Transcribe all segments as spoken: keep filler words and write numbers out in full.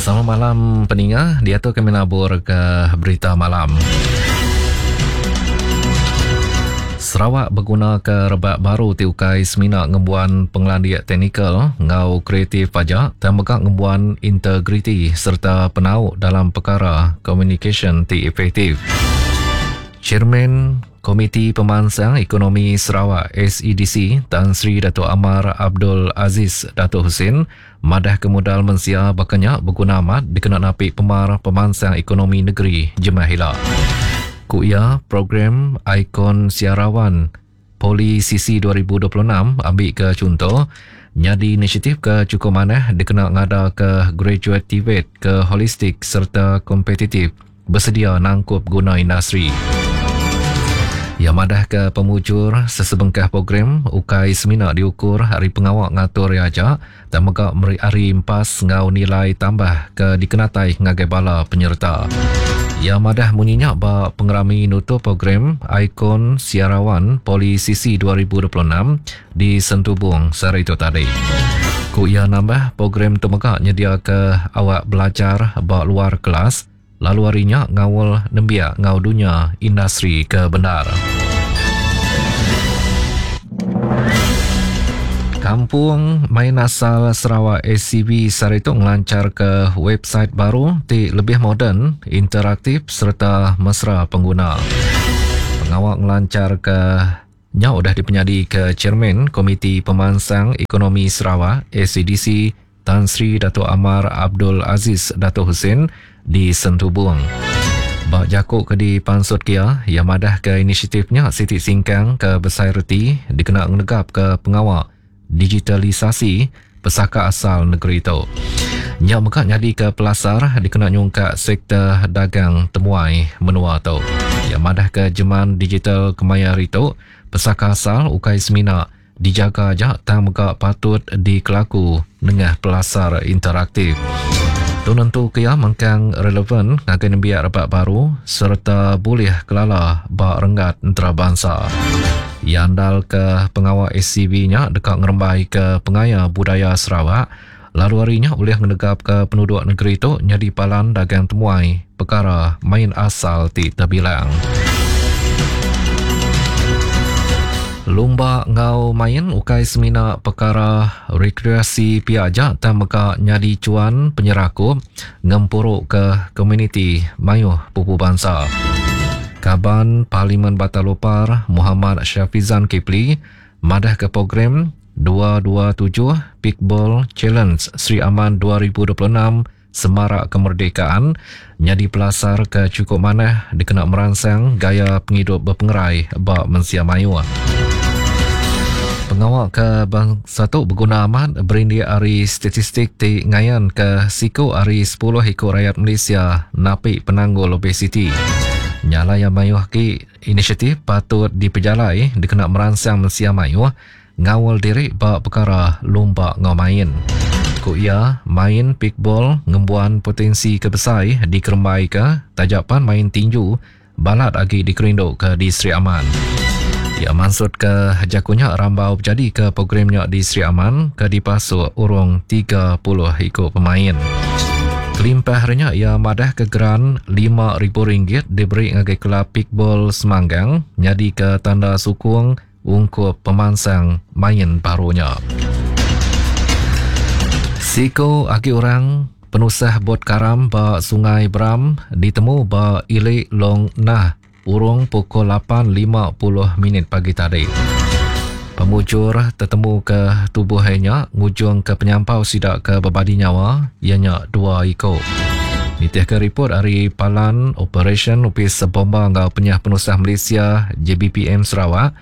Selamat malam peninga, diatu kami nabur ke berita malam. Sarawak berguna ke rebak baru ti ukai semina ngembuan pengelandik teknikal ngau kreatif aja, dan mega ngembuan integriti serta penau dalam perkara komunikasyen ti efektif. Chairman Komiti Pemansang Ekonomi Sarawak S E D C Tan Sri Dato' Amar Abdul Aziz Dato' Hussein madah ke modal mensia bakanya berguna amat dikena napi pemar pemansang ekonomi negeri Jemah Hila. Ku ia, program Ikon Siarawan Poli C C dua ribu dua puluh enam ambil ke contoh nyadi inisiatif ke cukup manah dikena ngada ke graduate T V E T ke holistik serta kompetitif bersedia nangkup guna industri. Ia madah ke pemujur sesebengkah program ukai semina diukur hari pengawak ngatur ia aja dan mega meri hari empas ngau nilai tambah ke dikenatai ngagai bala penyerta. Ia madah munyinya ba pengerami nutup program Ikon Siarawan Poli C C dua ribu dua puluh enam di Sentubung sehari itu tadi. Ku ia nambah program tu mega nyedia ke awak belajar ba luar kelas lalu harinya ngawal nembiak ngau dunia industri ke benar. Kampung Main Asal Sarawak S C B sehari itu ngelancar ke website baru ti lebih moden, interaktif serta mesra pengguna. Pengawak ngelancar ke nya udah dipenyadi ke Chairman Komiti Pemansang Ekonomi Sarawak S E D C Tan Sri Dato' Amar Abdul Aziz Dato' Hussein di Sentubung. Bak jakuk ke di Pansut Kia, ia madah ke inisiatifnya Siti Singkang ke Besai Reti dikena ngenegap ke pengawak digitalisasi pesaka asal negeri itu. Nya mega nyadi ke pelasar dikena nyungkak sektor dagang temuai menua tu. Ia madah ke jeman digital kemaya hari tu, pesaka asal ukai semina dijaga aja tang mega patut dikelaku nengah pelasar interaktif. Tu nentu ke ia mengkang relevan ngagai nembiak rebak baru serta boleh kelala ba renggat antarabangsa. Ia andal ke pengawal S C B-nya dekat ngerembai ke pengaya budaya Sarawak, lalu harinya boleh ngenegap ke penduduk negeri itu jadi palan dagang temuai perkara main asal ti terbilang. Lumba ngau main ukai semina perkara rekreasi pia aja tang mega nyadi cuan penyerakup ngempuruk ke komuniti mayuh pupu bangsa. Kaban Parlimen Batang Lupar Muhammad Syafizan Kipli madah ke program dua dua tujuh Pickball Challenge Sri Aman dua ribu dua puluh enam Semarak Kemerdekaan nyadi pelasar ke cukup manah dikena merangsang gaya penghidup berpengerai ba mensia mayuh. Pengawak ke bangsa tu berguna amat berindik ari statistik ti ngayan ke siku ari sepuluh ikut rakyat Malaysia napi penanggul obesiti. Nyala yang mayuh ki inisiatif patut dipejalai dikena merangsang mensia mayuh ngawal diri ba perkara lumba ngau main. Ku ia, main pickball ngembuan potensi kebesai dikerembai ke tajapan main tinju balat agi dikerinduk ke di Sri Aman. Ia maksud ke jakunya rambau berjadi ke programnya di Sri Aman ke dipasuk urung tiga puluh ikut pemain. Kelimpah harinya ia madah ke geran lima ribu ringgit diberi ngagai kelab pickball Semanggang nyadi ke tanda sukung ungkup pemansang main barunya. Siko agi orang penusah bot karam ba Sungai Bram ditemu ba Ilik Long Nah urung pukul lapan lima puluh minit pagi tadi. Pemujur tertemu ke tubuh nya ngujung ke penyampau sidak ke berbadi nyawa ianya dua iko. Nitih ke report dari Palan Operation Upis Bomba Ngau Penyah Penusah Malaysia J B P M Sarawak,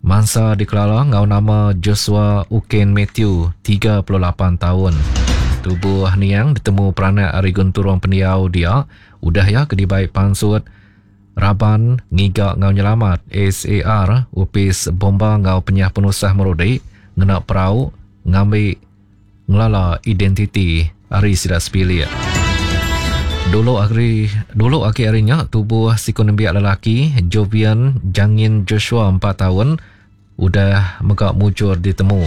mangsa dikelala ngau nama Joshua Uken Matthew, tiga puluh lapan tahun. Tubuh niang ditemu peranak ari genturung pendiau dia, udah ya ke dibaik pansut Raban Ngiga Ngau Nyelamat S A R Upis Bomba Ngau Penyah Penusah Merudi ngena perau ngambi ngelala identiti ari sida sepilik. Dulu hari, dulu aki harinya tubuh siku nembiak lelaki Jovian Jangin Joshua empat tahun udah mega mujur ditemu.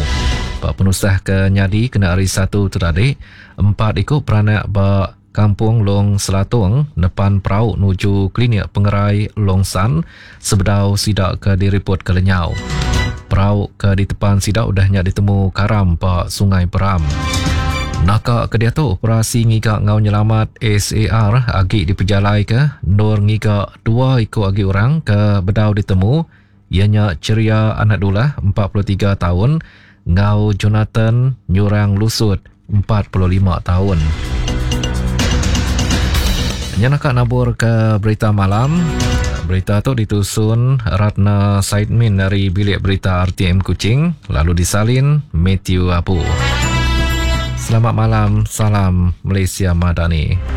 Ba penusah ke nyadi kena hari Satu tu tadi, empat iku peranak ba Kampung Long Selatung nepan perau nuju Klinik Pengerai Long San sebedau sida ke diripot ke lenyau. Perau ke ditepan sida udah nya ditemu karam ba Sungai Peram. Naka ke diatu operasi ngiga enggau nyelamat S A R agi dipejalaika endur ngiga dua iku agi orang ke bedau ditemu, iya nya Ceria Anak Dulah empat puluh tiga taun enggau Jonathan Nyurang Lusut empat puluh lima taun. Nya naka nabur ke berita malam. Berita tu ditusun Ratna Saidmin dari Bilik Berita R T M Kuching, lalu disalin Matthew Abu. Selamat malam, salam Malaysia Madani.